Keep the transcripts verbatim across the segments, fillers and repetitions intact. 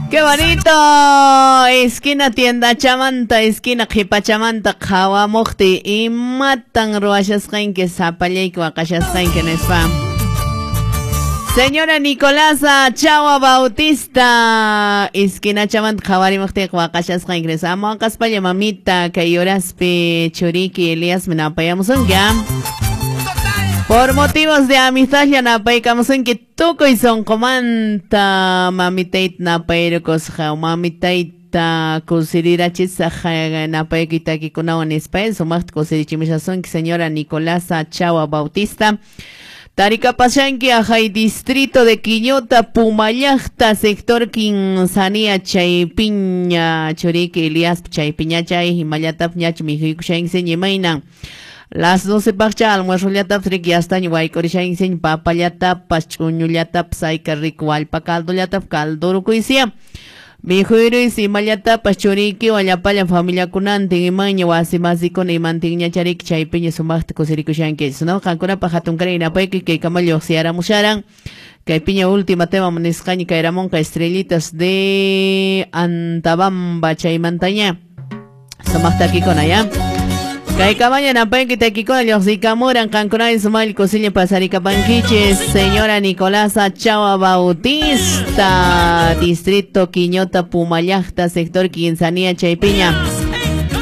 ¡Qué bonito! Esquina tienda chamanta, esquina qhipachamanta qhawamuqti imatan ruwashasqanki sapallayki waqashasqanki nispa. Señora Nicolasa Chawa Bautista, esquina chamanta qhawarimuqtiqa waqashasqanki nispa. Ama waqaspalla mamita kay horaspi churiki Elias minapayamusunki. Por motivos de amistad ya napaykamusunki tukuy sunqumanta mamitayta napayrukusqa mamitayta kusirirachisaq napaykuy takikunawan nispa sumaqta kusirichimushasunki señora Nicolasa Chawa Bautista. Tarikapashanki ajay distrito de Quiñota, Pumallaqta, sector Quinzanía, Chaypiña, churiki Elias Chaypiña chay, himallatap ñach mijuykushanki imaynan. Las doce paqcha almuerzollatapas riki yastaña waykurishanki papallatapas ch'uñullatapas ayka rico wallpa caldollatapas caldurukuysiya. Mijuyruysi imallatapas churikiwan llapallan familiakunantin imaña wasi masikuna imantinña chariki chaypiña sumaqta kusirikushankichis, ¿no? Qankunapaq hatunkaray napaykuy kaykama lluqsiyaramusharan. Kaypiña última tema nisqaña kayramunqa estrellitas de Antabamba chaymantaña. Sumaqta takikuna ya. Kay kamaña napayki takikuna lluqsikamuran qankunay sumal kusilla pasarikapankichis señora Nicolasa Chawa Bautista, distrito Quiñota, Pumallaqta, sector Quinzanía, Chaypiña.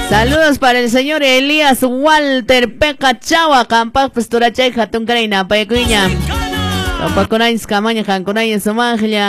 Saludos para el señor Elías Walter Peca Chawa, qampaqpas turachay hatunkaray napaykuña. Topakunaychis kamaña qankunay sumaqlla.